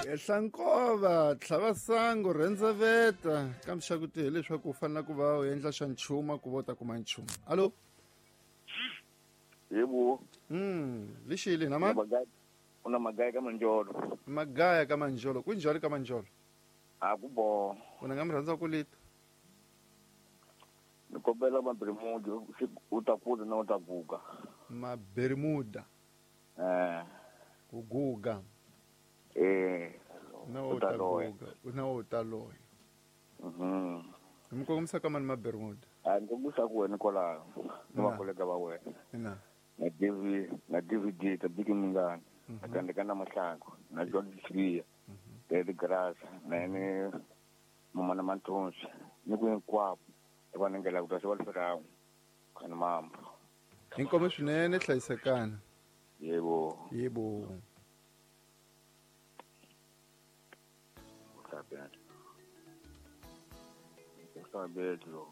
Ehlankova tlhavasangu rhendzeveta kambe xa ku ti hileswaku u fanele ku va u endla xa nchumu ku va u ta kuma nchumu. Alo. Yebo. Lixile na mani? Una magaya ka Manjolo. Magaya ka Manjolo. Kunjhani ka Manjolo? A ku bo. Wena nga mi rhandza ku lita. Ni kombela Maberimuda u ta kula na u ta guga. Maberimuda. Eh. Ku guga. Eh. Na u ta guga, na u ta loya. Mi kongomisa ka mani Maberimuda? A ni kongomisa ku wena kwalaho. Ni vakolega va wena. Ina. Na DV, na DVD ta Biki Mingani. Na Tandeka na Mahlangu, na John Sibiya. David Grasa, na yena Mama na Manthonsi, ni ku hinkwavo va nengela ku ta se va liferawu khani mambo. Inkomo swinene hlayisekana. Yebo. Yebo. Uhlabela. Uhlabela lo.